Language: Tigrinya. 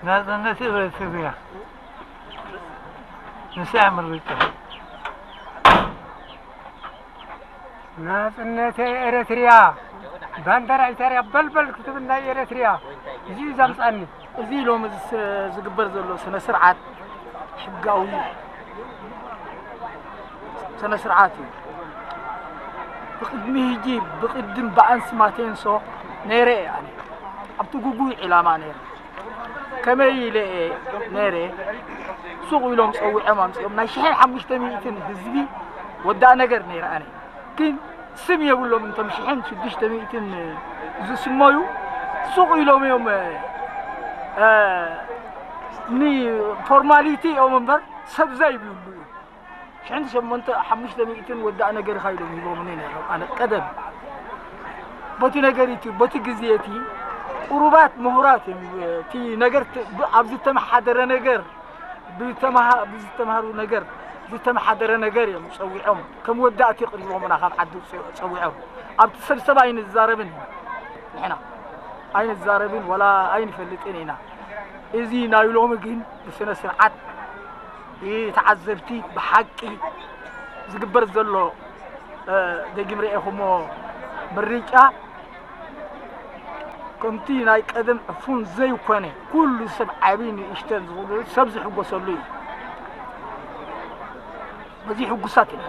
ናጽነት ኤረትርያ ንሳ ምርጫ። ናጽነት ኤረትርያ፣ ባንደራ ኢታርያ በልበል ክትብል ናይ ኤረትርያ፣ እዚ እዩ ዘምጻኒ። እዚ ሎሚ ዝስ-፣ ዝግበር ዘሎ ስነ ስርዓት ሕጋዊ ስነ ስርዓት እዩ። ብቕድሚ ሕጂ፣ ብቕድም ብኣንስ ማቴንሶ ነይረ እየ ኣነ ኣብቲ ግጉይ ዕላማ ነይረ። ከመይ ኢለ እየ ነይረ? ሱቕ ኢሎም ጸዊዖም ኣምጺኦም ናይ ሽሕን ሓሙሽተ ሚእትን ህዝቢ ወዳእ ነገር ነይረ ኣነ። ግን ስም የብሎም እንቶም ሽሕን ሽዱሽተ ሚእትን ዝስመዩ ሱቕ ኢሎም እዮም፣ እ፣ እ፣ ንፎርማሊቲ እዮም እምበር ሰብ ዘይብሉ እዩ። ሽሕን ሸሞንተ ሓሙሽተ ሚእትን ወዳእ ነገር ኢኻ ኢሎም ሂቦምኒ ነይሮም። ኣነ ቀደም በቲ ነገር እቲ፣ በቲ ግዜ እቲ ቁሩባት ምሁራት እዮም። እቲ ነገር ት-፣ ብ-፣ ኣብ ዝተመሓደረ ነገር፣ ብተመሃ-፣ ብዝተምሃሩ ነገር፣ ዝተመሓደረ ነገር እዮም ጸዊዖም። ከም ወዳእቲ ቅሪቦምና ካብ ዓዲ ጸ-፣ ጸዊዖም። ኣብቲ ሰብሰብ ኣይንዛረብን ኢና። ንሕና ኣይንዛረብን ወላ ኣይንፈልጥን ኢና። እዚ ናይ ሎሚ ግን ብስነ ስርዓት ብተዓዘብቲ ብሓቂ ዝግበር ዘሎ፣ እ፣ ደጊም ርኤኹሞ ምርጫ ከምቲ ናይ ቀደም ዕፉን ዘይኮነ፣ ኩሉ ሰብ ዓቢ ንእሽተን ዝኹሉ ሰብ ዝሕጎሰሉ እዩ። በዚ ሕጉሳት ኢና።